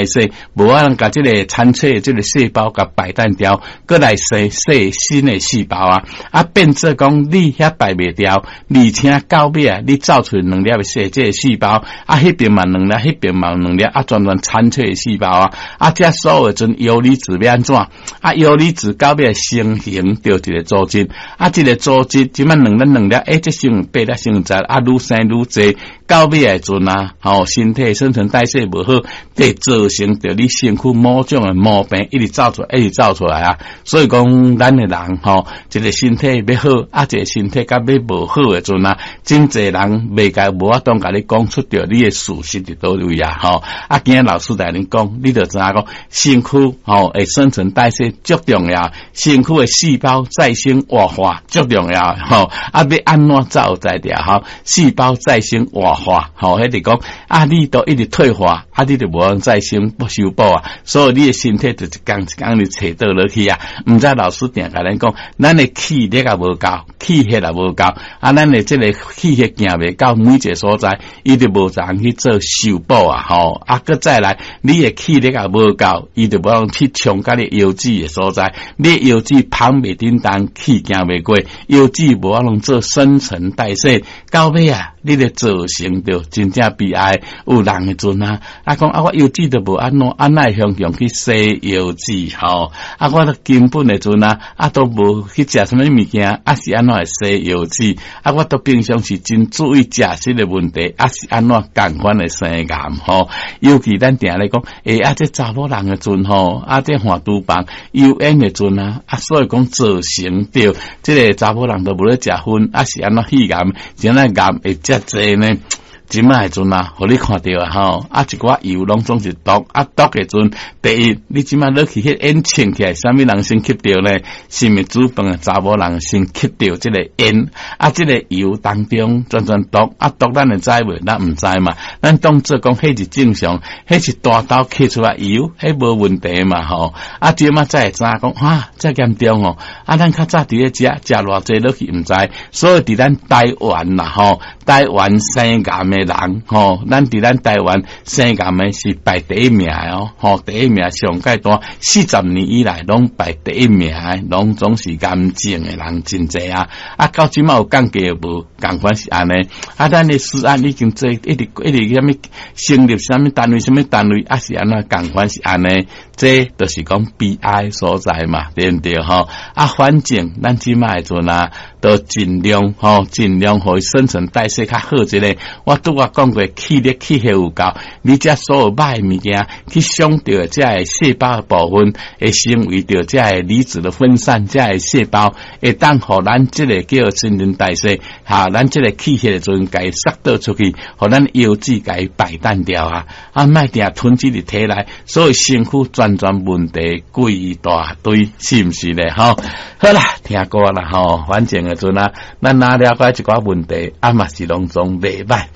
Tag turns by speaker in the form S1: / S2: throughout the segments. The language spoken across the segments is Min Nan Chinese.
S1: 代謝，無法通共這个殘缺的這个細胞共排淡掉，閣來生生新的細胞啊！啊，變做講你遐排袂掉，而且到尾啊，你造出兩粒的細這个細胞，啊，彼邊嘛兩粒，彼邊嘛兩粒，啊，全全殘缺的細胞啊！啊，這所有的陣游離子欲按怎？啊，游離子到尾成形著一个組織，啊，這个組織這擺兩粒兩粒，欸，這成八粒成十，啊，愈生愈濟，到尾的陣啊，吼，身體新陳代謝無好，會造成著你身軀某種的毛病，一直走出來，一直走出來啊。所以講，咱的人吼，一个身體欲好，啊，一个身體佮欲無好的陣啊，真濟人袂共無法度共你講出著你的事實佇佗位啊，吼。啊，今仔老師來恁講，你就知影講，身軀吼會新陳代謝足重要，身軀的細胞再生活化足重要，吼。啊，欲按怎才有才調吼？細胞再生活化，吼，彼就講啊，你都一直退化，啊，你就無法再生不修補啊，所以你的身體就一工一工咧揣倒落去啊。毋知老師定共咱講，咱的氣力也無夠，氣血也無夠，啊，咱的這个氣血行袂到每一个所在，伊就無人去做修補啊，吼。啊，閣再來，你的氣力也無夠，伊就無法去衝到你腰子的所在，你的腰子捧袂振動，氣行袂過，腰子無法度做新陳代謝，到尾啊，你就造成著真正悲哀。有人的陣啊，啊講啊，我腰子都無按怎，啊哪會雄雄去洗腰子吼？啊，我都根本的陣啊，啊都無去食啥物物件，啊是按怎會洗腰子？啊，我都平常時真注意食食的問題，啊是按怎仝款會生癌吼？尤其咱定咧講，欸，啊這查某人的陣吼，啊這換廚房油煙的陣啊，啊所以講造成著這个查某人都無咧食薰，啊是按怎肺癌，是按怎癌會遮濟呢？這擺的陣啊，予你看著啊吼，啊一寡油攏總是毒，啊毒的陣，第一，你這擺落去彼煙衝起來，啥物人先吸著呢？是毋是煮飯的查某人先吸著這个煙？啊，這个油當中全全毒，啊毒咱會知無？咱毋知嘛。咱當做講彼是正常，彼是大刀切出來油，彼無問題嘛吼。啊，這擺才會知影講，哇，遮嚴重哦！啊，咱較早佇咧食，食偌濟落去毋知，所以佇咱台灣啦吼，台灣生癌的人吼，咱佇咱台灣生癌的是排第一名的哦，吼，第一名上蓋大，40年以來攏排第一名的，攏總是癌症的人真濟啊！啊，到這擺有降低無？仝款是按呢。啊，咱的食安已經做一直一直啥物成立啥物單位，啥物單位，啊是按怎仝款是按呢？這就是講悲哀所在嘛，對毋對吼？啊，反正咱這擺的陣啊，都盡量吼，盡量予伊新陳代謝較好一個。我拄仔講過，氣力氣血有夠，你這所有歹的物件去傷著這个細胞的部分，會成為著這个離子的分散，這个細胞會當予咱這个叫新陳代謝，哈，咱這个氣血的陣，共伊釋倒出去，予咱腰子共伊排淡掉啊！啊，莫定囤積佇體內，所以身軀全全問題規大堆，是毋是咧？吼，好啦，聽歌啦吼，反正的陣啊，咱若了解一寡問題，啊嘛是攏總袂歹，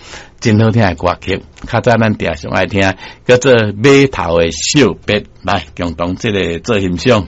S1: 真好聽的歌曲，較早咱定常愛聽，叫做碼頭的惜別，來共同這个做欣賞。